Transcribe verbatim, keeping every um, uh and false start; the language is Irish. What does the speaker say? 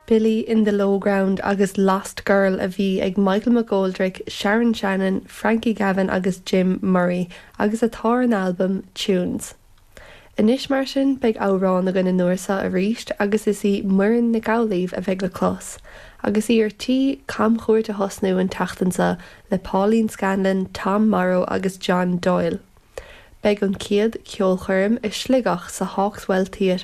Billy in the Low Ground agus Lost Girl a bhí ag Michael McGoldrick, Sharon Shannon, Frankie Gavin agus Jim Murray agus atá ar an albam Tunes. Anois mar sin beidh amhrán againn an uair seo arís agus is í Muireann Nic Amhlaoibh a bheidh le clos, agus í ar tí camchuairt a thosnú an tseachtain seo le Pauline Scanlon, Tom Morrow agus John Doyle. Beidh an chéad cheolchoirm i Sligeach sa Hawkswell Theatre